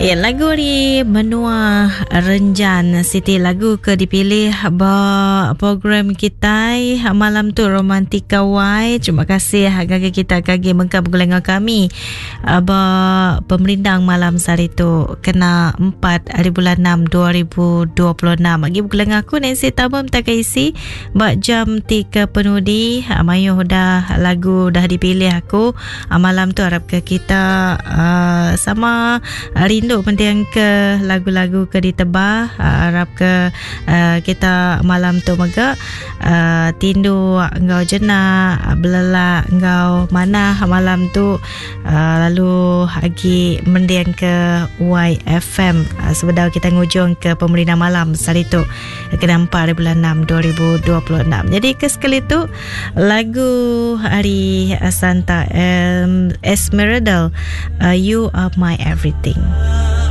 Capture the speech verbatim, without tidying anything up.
Ya, lagu ari menua Renjan siti lagu ke dipilih ba program kitai malam tu Romantika Y. Terima kasih ngagai kita kagi mengka begulai enggau kami ba pemerindang malam sehari tu kena empat hari bulan enam dua ribu dua puluh enam. Agi begulai enggau aku Nancy Tabam tak isi ba jam tiga penudi. Mayuh dah lagu dah dipilih aku malam tu, harap ke kita uh, sama rindu penting ke lagu-lagu ke ditebah. Harap ke uh, kita malam tu mega uh, tindu enggau jenak, belelak enggau manah malam tu, uh, lalu agi mending ke Y F M uh, sebedau kita ngujung ke pemerintah malam sehari tu kena empat hari bulan enam dua ribu dua puluh enam. Jadi ke sekali tu lagu hari Santa um, Esmeralda, uh, You Are My Everything.